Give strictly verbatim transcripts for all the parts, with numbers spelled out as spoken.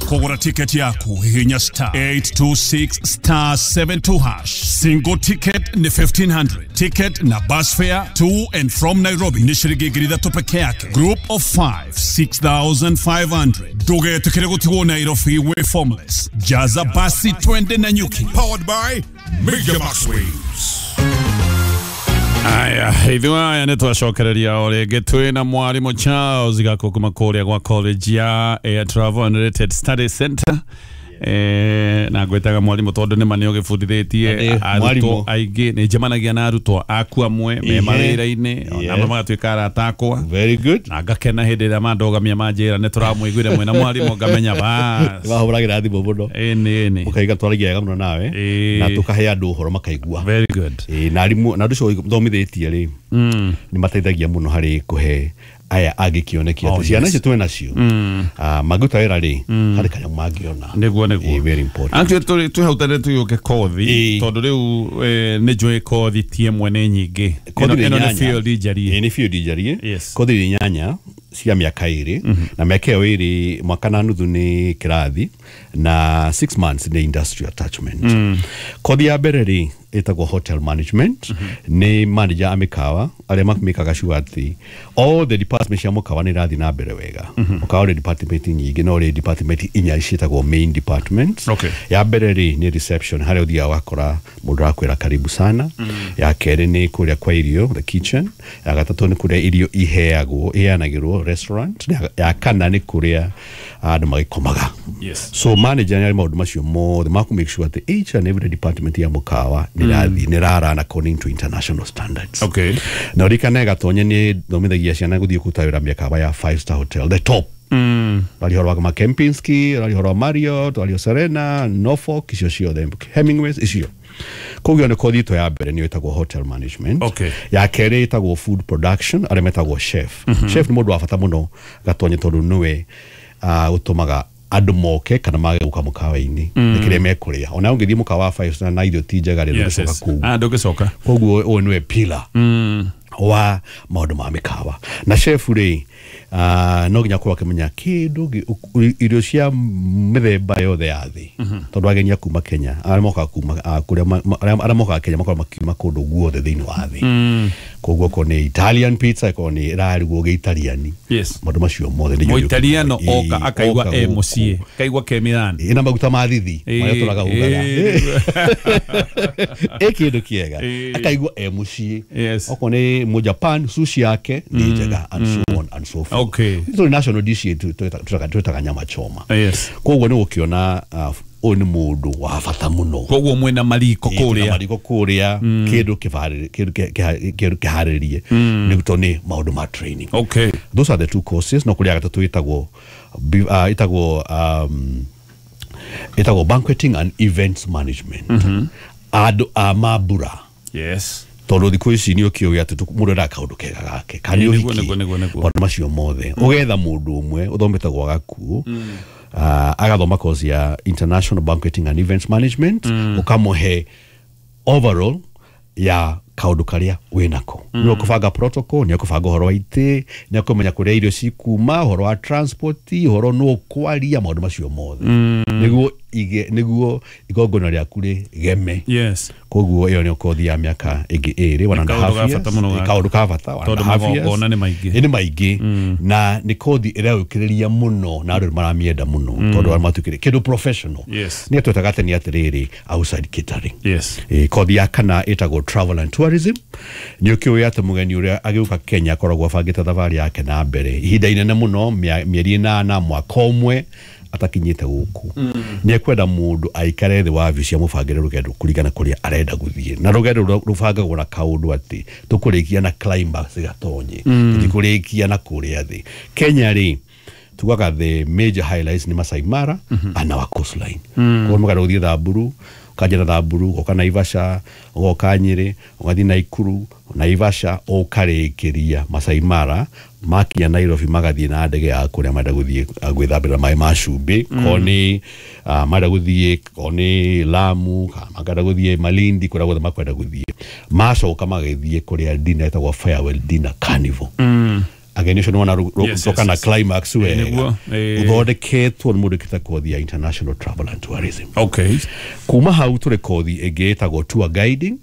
Kũgũra tiketi yaku hihinya star eight two six star seven two hash. Single ticket ni fifteen hundred. Ticket na bus fare to and from Nairobi ni shilingi ngiri ithatũ peke yake. Group of five, six thousand five hundred. Ndũgetĩkĩre gũtigwo Nairobi wĩ formless. Jaza basi twende Nanyuki. Powered by Media Max Waves. Aya, ithuĩ aya nĩ twacokereria o rĩngĩ twĩna mwarimũ Charles Gakũ kuma kũrĩa gwa college ya Air Travel and Related Study Center. Eh, na ngwĩtaga mwarimũ tondũ nĩ ma nĩ ũgĩbundithĩtie arutwo aingĩ, nĩ njemanagia na arutwo aku amwe me mawĩra-inĩ, ona amwe magatuĩka arata akwa. Very good. Na ngakena hĩndĩ ĩrĩa mandogamia manjĩra nĩ tũramũiguire mwĩna mwarimũ ngamenya bas. Nĩmahũragĩra thimũ mũno. Ĩni, ĩni. Ũkaiga twaragia wega mũno nawe, na tũkahe andũ ũhoro makaigua. Very good. Ĩĩ, na arimũ, na andũ acio thomithĩtie rĩ, nĩ mateithagia mũno harĩ kũhe aya angĩ kĩoneki atĩ ciana icio twĩ nacio mangĩruta wĩra rĩ, harĩ kanyamũ mangĩona. Nĩguo, nĩguo. Very important. Actually twĩ hau tene tũgĩũke kothi, tondũ rĩu nĩ njũĩ kothi ti ĩmwe nĩ nyingĩ. Ĩno nĩ field njarie. Nĩ field njarie. Kothi nĩ inyanya cia mĩaka ĩrĩ, na mĩaka ĩyo ĩrĩ mwaka na nuthu nĩ kĩrathi na six months nĩ industry attachment. Kothi ya mbere rĩ ĩtagwo hotel management, nĩ manager a mĩkawa arĩa mamĩkaga sure atĩ all the departments cia mũkawa nĩ irathiĩ na mbere wega. Mũkawa ũrĩ department nyingĩ, no ũrĩ department inya ciĩtagwo main departments. Ya mbere rĩ nĩ reception, harĩa ũthiaga ũgakora mũndũ arakwĩra karibu sana. Ya kerĩ nĩ kũrĩa kwa irio, the kitchen. Ya gatatũ nĩ kũrĩa irio iheagwo, iheanagĩrwo, restaurant. Ya kana nĩ kũrĩa andũ magĩkomaga. So manager nĩ arĩ maũndũ macio mothe ma kũ make sure atĩ each and every department ya mũkawa nĩ ĩrathiĩ, nĩ ĩrarun according to international standards. Okay. Na ũririkane Gatonye nĩ thomithagia ciana gũthiĩ kũruta wĩra mĩkawa ya five star hotel, the top. Rari horo wa Kempinski, rari horo wa Marriott, rari Serena, Norfolk, icio ciothe, Hemingways, icio. Koguo nĩ kothi itũ ya mbere nĩyo ĩtagwo hotel management. Okay. Ya kerĩ ĩtagwo food production, arĩa metagwo chef. Chef nĩ mũndũ wa bata mũno Gatonye tondũ nĩwe ũtũmaga andũ moke kana mage gũka mũkawa-inĩ nĩ kĩrĩa mekũrĩa. Ona ũngĩthiĩ mũkawa wa five star na irio ti njega rĩ, ndũgĩcoka kũu. Ah, ndũgĩcoka. Koguo ũyũ nĩwe pillar wa maũndũ ma mĩkawa. Na chef rĩ, no nginya akorwo akĩmenya kĩndũ, irio cia mĩthemba yothe ya thĩ, tondũ ageni a kuma Kenya, arĩa mokaga kuma kũrĩa, arĩa mokaga Kenya makoragwo makiuma kũndũ guothe thĩinĩ wa thĩ. Koguo okorwo nĩ Italian pizza, ĩkorwo nĩ ĩrarugwo gĩitaliani. Maũndũ macio mothe nĩ Mũitaliano oka akaigua e mũciĩ, akaigua ke Milan. Ĩna maguta ma thithi marĩa tũraga ugaga. Ĩ kĩndũ kĩega, akaigua e mũciĩ. Okorwo nĩ mũ Japan, sushi yake nĩ njega, and so on and so forth. Okay. Tũrĩ national dish yetu twĩtaga nyama choma. Yes. Koguo nĩ ũkĩona ũyũ nĩ mũndũ wa bata mũno. Koguo mwĩna mariko kũrĩa. Mariko kũrĩa, kĩndũ kĩharĩrie, kĩharĩrie nĩ tondũ nĩ maũndũ ma training. Okay. Those are the two courses. No kũrĩa gatatũ ĩtagwo ĩtagwo um ĩtagwo banqueting and events management. Andũ a mambura. Yes. Tondũ thikũ ici nĩ ũkĩũĩ atĩ mũndũ endaga kaũndũ kega gake, kana nĩ ũhiki, maũndũ macio mothe. Ũgetha mũndũ ũmwe ũthomete gwa Gakuũ, agathoma course ya International Banqueting and Events Management, ũkamũhe overall ya kaũndũ karĩa wĩnako. Nĩ ũkũbanga protocol, nĩ ũkũbanga ũhoro wa itĩ, nĩ ũkũmenya kũrĩa irio cikuma, ũhoro wa transport, ũhoro nũ ũkwaria, maũndũ macio mothe. Nĩguo ige, nĩguo igongona rĩaku rĩgeme. Yes. Koguo ĩyo nĩ kothi ya mĩaka ĩngĩ ĩrĩ, one and a half years. Kaũndũ ka bata, one and a half years. Tondũ magongona nĩ maingĩ. Nĩ maingĩ, na nĩ kothi ĩreũkĩrĩria mũno na andũ maramĩenda mũno, tondũ arĩa matuĩkire kĩndũ professional. Yes. Nĩ twetaga atĩ nĩ atĩrĩrĩ outside catering. Yes. Kothi ya kana ĩtagwo travel and tourism. Nĩ ũkĩũĩ atĩ mũgeni ũrĩa agĩũka Kenya akoragwo abangĩte thabarĩ yake na mbere ihinda inene mũno, mĩeri ĩnana, mwaka ũmwe atakinyĩte gũkũ. Nĩ ekwenda mũndũ aikare thĩ wa wabici amũbangĩre rũgendo kũringana kũrĩa arenda gũthiĩ, na rũgendo rũbangagwo na kaũndũ atĩ tũkũrĩkia na climax Gatonye, tũtikũrĩkia na kũrĩa thĩ. Kenya rĩ, tugaga the major highlights nĩ Masai Mara and our coastline. Koguo mũkenda gũthiĩ Thamburu, ũkanjia na Thamburu, ũgoka Naivasha, ũgoka Nyĩrĩ, ũgathiĩ Naikuru, Naivasha, ũkarĩkĩria Masai Mara, makinya Nairobi magathiĩ na ndege ya kũrĩa marenda gũthiĩ gwĩthambĩra maĩ ma cumbĩ, korwo nĩ marenda gũthiĩ, korwo nĩ Lamu, kana makenda gũthiĩ Malindi, kũrĩa guothe makwenda gũthiĩ. Macoka magĩthiĩ kũrĩa dinner ĩtagwo farewell dinner carnival. Ageni ũcio nĩwona Yes, yes, rũka na yes. climax wega. Nĩguo, eh. Ũthondeketwo nĩ mũndũ wĩkĩte kothi ya international travel and tourism. Okay. Kuma hau tũrĩ kothi ĩngĩ ĩtagwo tour guiding,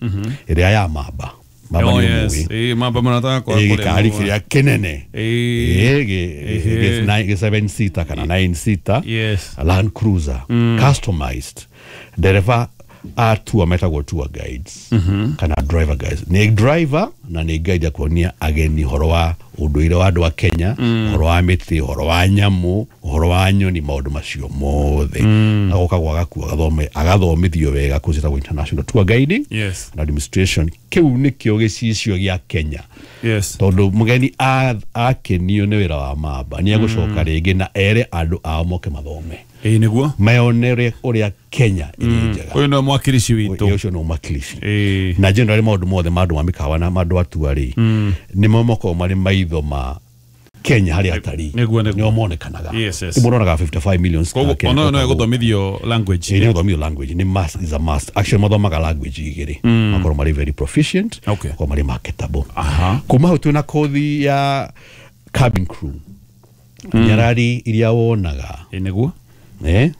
ĩrĩa ya mamba mamba. Oh, Nĩ yes. ũmũĩ. Eh, mamba mũrata wakwa. Ĩ, gĩkari kĩrĩa kĩnene. Eh. Ĩ, gĩ- gĩ- nine- gĩ seven seater kana nine seater. Yes. Land Cruiser customized. Ndereba a tour metagwo tour guides kana driver guides, nĩ driver na nĩ guide ya kuonia ageni ũhoro wa ũndũire wa andũ a Kenya, ũhoro wa mĩtĩ, ũhoro wa nyamũ, ũhoro wa nyoni, maũndũ macio mothe. Agoka gwa agakua agathome agathomithio wega kũu ciĩtagwo international tour guiding Yes. and administration. Kĩu nĩkĩo gĩcicio gĩa Kenya, Yes. tondũ mũgeni a- akenio nĩ wĩra wa mamba nĩ egũcoka rĩngĩ na ere andũ ao moke mathome, Ĩĩ, nĩguo. meonere ũrĩa Kenya ĩrĩ njega. Ũyũ nĩwe mwakirici witũ. Ĩ, ũcio nĩ mwakilishi. Ĩĩ. Na generally maũndũ mothe ma andũ ma mĩkawa na ma andũ atua rĩ, nĩmo makoragwo marĩ maitho ma Kenya harĩ atarii. Nĩguo, nĩguo. Nĩo monekanaga. Yes, yes. Mũndũ onaga fifty-five million. Koguo ona ũyũ no egũthomithio language. Ĩ, nĩ gũthomithio language nĩ must, is a must actually. Mathomaga language igĩrĩ, makorwo marĩ very proficient, Okay. makorwo marĩ marketable. Aha. Kuma hau twĩna kothi ya cabin crew, nyarari iria wonaga. Ĩĩ, nĩguo. Eh?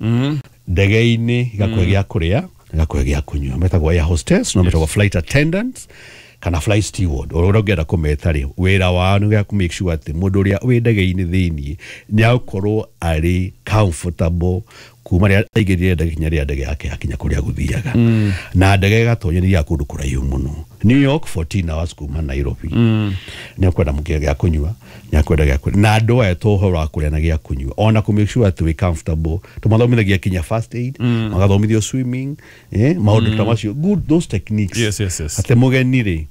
Ndege-inĩ igakũhe gĩa kũrĩa, igakũhe gĩa kũnyua, metagwo air hostess, no metagwo flight attendants kana flight steward, o ũrĩa ũngĩenda kũmeta rĩ, wĩra wao nĩ kũ make sure atĩ mũndũ ũrĩa wĩ ndege-inĩ thĩiniĩ nĩ agũkorwo arĩ comfortable kuma rĩrĩa aingĩrire ndege kinya rĩrĩa ndege yake yakinya kũrĩa gũthiaga. Na ndege ĩgatonya nĩ kũndũ kũraihu mũno, New York fourteen hours kuma Nairobi. Nĩ akwenda mũkĩra gĩa kũnyua, nĩ akwenda gĩa kũrĩa, na andũ aya to ũhoro wa kũrĩa na gĩa kũnyua, ona kũ make sure atĩ wĩ comfortable. Tũmathomithagia kinya first aid, magathomithio swimming, eh, maũndũ ta macio, good those techniques. Yes, yes, yes. Atĩ mũgeni rĩ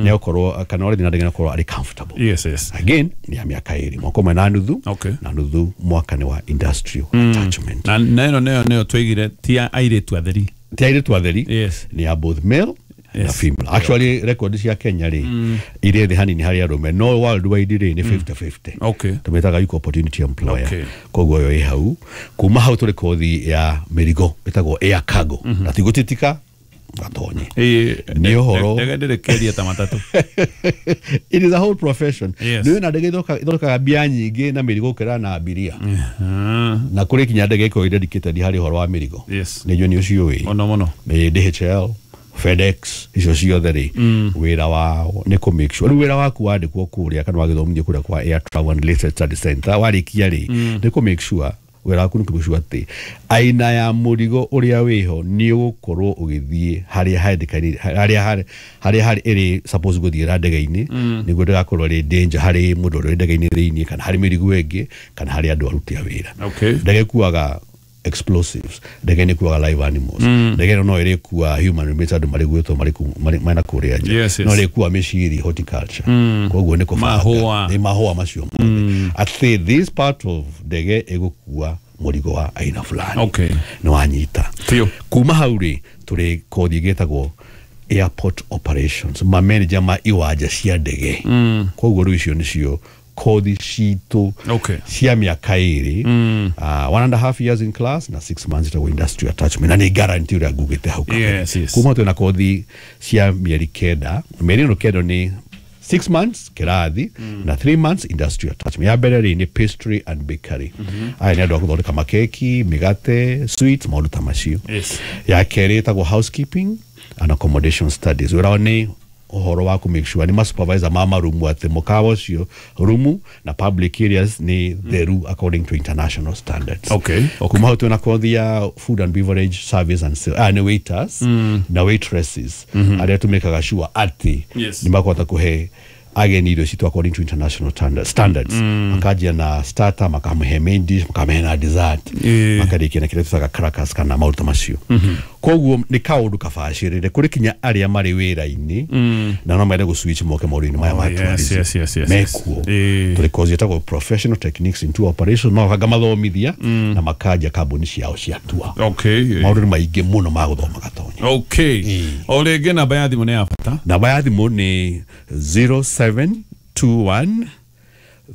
nĩ akorwo kana ũrĩa na ndege nĩ akorwo arĩ comfortable. Yes, yes. Again nĩ ya mĩaka ĩrĩ, mwaka ũmwe na nuthu, Okay. na nuthu mwaka nĩ wa industrial attachment. Na na ĩno nĩyo nĩyo twaigire ti ya airĩtu atheri. Ti airĩtu atheri. Yes. Nĩ ya both male na Yes. female. Actually record cia Kenya rĩ, irĩ thĩ hanini harĩ arũme, no worldwide rĩ nĩ fifty fifty. Okay. Tũmĩtaga equal opportunity employer. Okay. Koguo ĩyo ĩ hau. Kuma hau tũrĩ kothi ya mĩrigo ĩtagwo air cargo, na ti gũtitika gatonye. Ĩĩ, Nĩ ũhoro- ndege ndĩrĩ kĩeria ta matatũ. It is a whole profession. Yes. Nĩ na ndege ithondeka- ithondekaga mbia nyingĩ na mĩrigo gũkĩra na abiria, Ah, na kũrĩ kinya ndege ĩkoragwo dedicated harĩ ũhoro wa mĩrigo. Yes. Nĩ njũĩ nĩ ũcio ũĩ. Mũno mũno. Nĩ D H L, FedEx, icio ciothe rĩ, wĩra wao nĩ kũ make sure rĩu wĩra waku wandĩkwo kũrĩa kana wagĩthomithio kũrĩa kwa Air Travel and Related Study Center, warĩkia rĩ, nĩ kũ make sure wĩra waku nĩ kũ make sure atĩ aina ya mũrigo ũrĩa wĩho nĩ ũgũkorwo ũgĩthiĩ harĩa handĩkanĩire, harĩa harĩ harĩa harĩ ĩrĩ suppose gũthiĩra ndege-inĩ, nĩguo ndĩgakorwo ĩrĩ danger harĩ mũndũ ũrĩa wĩ ndege-inĩ thĩiniĩ kana harĩ mĩrigo ĩngĩ kana harĩ andũ aruti a wĩra. Okay. Ndege ĩkuaga explosives, ndege nĩ ĩkuaga live animals, ndege ĩno no ĩrĩkua human remains, andũ marĩ gwĩtwo marĩ ku- marĩ- mena kũrĩa nja. Yes, yes. No ĩrĩkua mĩciri, horticulture, koguo nĩ kũbanga. Mahũa. Nĩ mahũa macio mothe, atĩ this part of ndege ĩgũkua mũrigo wa aina fulani. Okay. Nĩ wanyita? Biũ. Kuma hau rĩ, tũrĩ kothi ĩngĩ ĩtagwo airport operations, mamanager ma iwanja cia ndege. Koguo rĩu icio nĩcio kothi citũ Okay. cia mĩaka ĩrĩ, uh, one and a half years in class na six months ĩtagwo industry attachment, na nĩ guarantee ũrĩa ngugĩte hau kabere. Yes, yes. Kuma twĩna kothi cia mĩeri kenda. Mĩeri ĩno kenda nĩ six months kĩrathi na three months industrial attachment. Ya mbere rĩ nĩ pastry and bakery. Aya nĩ andũ a gũthondeka makeki, mĩgate, sweets, maũndũ ta macio. Yes. Ya kerĩ ĩtagwo housekeeping and accommodation studies. Wĩra wao nĩ ũhoro wa kũ make sure nĩ masupervisor ma marumu, atĩ mũkawa ũcio, rumu na public areas nĩ theru according to international standards. Okay, okay. Kuma hau twĩna kothi ya food and beverage service and sales, ah, nĩ waiters na waitresses arĩa tũmĩkaga sure atĩ Yes. nĩ makũhota kũhe ageni irio citũ according to international standards, standards. Makanjia na starter, makamũhe main dish, makamũhe na dessert, Ĩĩ. makarĩkia na kĩrĩa tũtaga crackers kana maũndũ ta macio. Koguo nĩ kaũndũ kabacĩrĩre kũrĩ kinya arĩa marĩ wĩra-inĩ na no mende gũ switch moke maũndũ-inĩ maya ma Oh, yes, tourism. yes, yes, yes, Mekuo. yes. Ĩĩ. Tũrĩ kozi ĩtagwo professional techniques in tour operation, magoka mathomithia na makanjia kambuni ciao cia tour. Okay. Maũndũ nĩ maingĩ mũno ma gũthoma, Gatonya. Okay, o rĩngĩ namba ya thimũ nĩ ya bata. Namba ya thimũ nĩ zero seven two one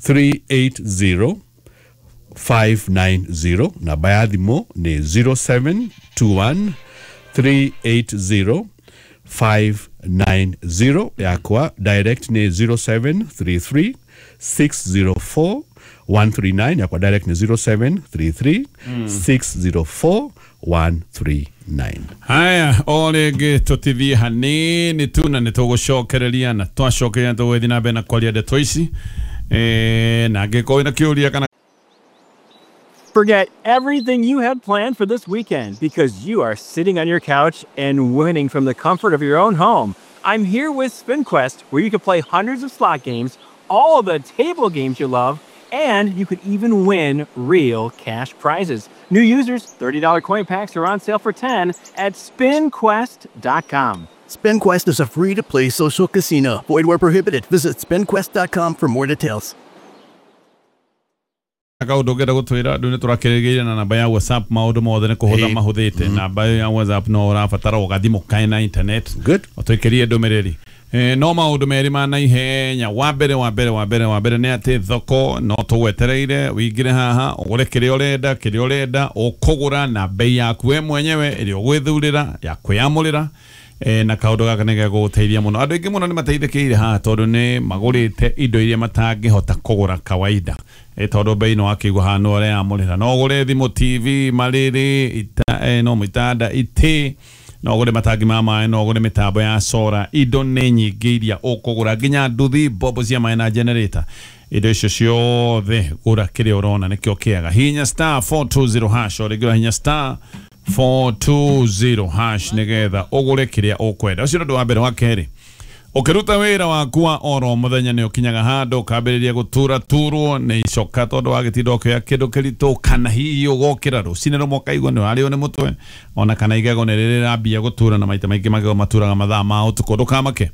three eight zero five nine zero. Namba ya thimũ nĩ zero seven two one three eight zero five nine zero. Yakwa direct nĩ zero seven three three six zero four one three nine, yakwa direct nĩ zero seven three three six zero four one three nine. Haya, o rĩngĩ tũtithie hanini tu na nĩ tũgũcokereria, na twacokereria tũgũgĩthiĩ na mbere na kwaria ndeto ici. Eh, na angĩkorwo wĩna kĩũria kana Forget everything you had planned for this weekend because you are sitting on your couch and winning from the comfort of your own home. I'm here with SpinQuest, where you can play hundreds of slot games, all the table games you love, and you could even win real cash prizes. New users, thirty dollar coin packs are on sale for ten at spin quest dot com. SpinQuest is a free-to-play social casino. Void where prohibited. Visit spin quest dot com for more details. Kaũndũ ũngĩenda gũtwĩra andũ nĩ tũrakĩrĩgĩire na namba ya WhatsApp, maũndũ mothe nĩ kũhũtha Ĩĩ. mahũthĩte. Namba ĩyo ya WhatsApp no ũrabatara ũgathimũ kaĩ na internet. Good. Ũtũikĩrie ndũmĩrĩri. Eh, no maũndũ merĩ ma naihenya. Wa mbere, wa mbere, wa mbere, wa mbere nĩ atĩ thoko no tũgwetereire ũingĩre haha ũgũre kĩrĩa ũrenda, kĩrĩa ũrenda ũkũgũra na bei yaku we mwenyewe ĩrĩa ũgwĩthurĩra ya kwĩamũrĩra. Eh, na kaũndũ gaka nĩ gegũgũteithia mũno. Andũ aingĩ mũno nĩ mateithĩkĩire haha tondũ nĩ magũrĩte indo iria matangĩhota kũgũra kawaida. Eh, tondũ bei no akĩigua haha no ũreyamũrĩra. No ũgũre thimũ, T V, marĩrĩ, ita, eh, no itanda, itĩ, no ũgũre matangi ma maĩ, no ũgũre mĩtambo ya sora. Indo nĩ nyingĩ iria ũkũgũra, nginya nduthi, mbombo cia maĩ na generator. Indo icio ciothe gũra kĩrĩa ũrona nĩkĩo kĩega. Hihinya star four two zero hash, o rĩngĩ ũrahihinya star four two zero hash nĩgetha ũgũre kĩrĩa ũkwenda. Ũcio nĩ ũndũ wa mbere. Wa kerĩ, ũkĩruta wĩra waku wa oro mũthenya nĩ ũkinyaga handũ ũkambĩrĩria gũtura turwo nĩ icoka tondũ wagĩtinda ũkĩoya kĩndũ kĩritũ, kana hihi ũgokĩra rũcinĩ rũmwe ũkaigua nĩ ũrarĩo nĩ mũtwe, ona kana igego nĩ rĩrambia gũtura, na maita maingĩ magego maturaga mathaa ma ũtukũ. Ndũkamake,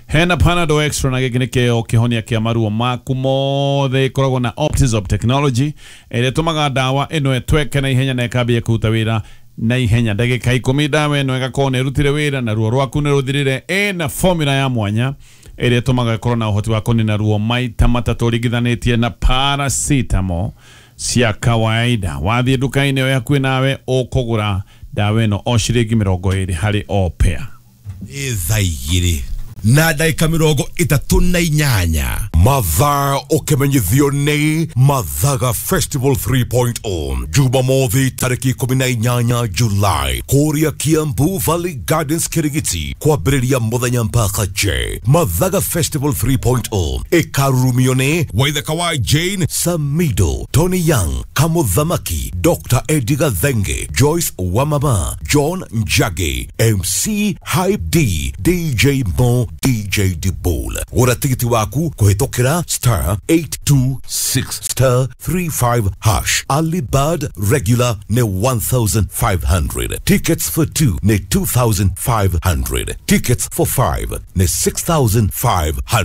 hena Panadol Extra, na gĩkĩ nĩkĩo kĩhonia kĩa maruo maku mothe. Ĩkoragwo na Optizop technology ĩrĩa ĩtũmaga ndawa ĩno ĩtweke na ihenya na ĩkambia kũruta wĩra na ihenya. Ndagĩka ikũmi ndawa ĩno ĩgakorwo nĩ ĩrutire wĩra na ruo rwaku nĩ rũthirire. Ĩna formula ya mwanya ĩrĩa ĩtũmaga ĩkorwo na ũhoti wa kũnina ruo maita matatũ ũringithanĩtie na paracetamol cia kawaida. Wathiĩ nduka-inĩ ĩyo hakuhĩ nawe ũkũgũra ndawa ĩno o ciringi mĩrongo ĩrĩ harĩ o pair. Nĩ thaa igĩrĩ na ndagĩka mĩrongo ĩtatũ na inyanya. Mathaa ũkĩmenyithio nĩ Mathaga Festival three point oh, Jumamothi tarĩki ikũmi na inyanya July, kũrĩa Kiambu Valley Gardens Kirigiti, kwambĩrĩria mũthenya mpaka J. Mathaga Festival three point oh ĩkarurumio nĩ Waithaka wa Jane Samido, Tony Young, Kamuthamaki, Doctor Eddie Gathenge, Joyce Wamama, John Njagi, M C Hype D, D J Mo, D J Dibol. Gũra tigiti waku kũhĩtũkĩra star eight two six star three five hash. Early bird regular nĩ one thousand five hundred. Tickets for two nĩ two thousand five hundred. Tickets for five nĩ six thousand five hundred.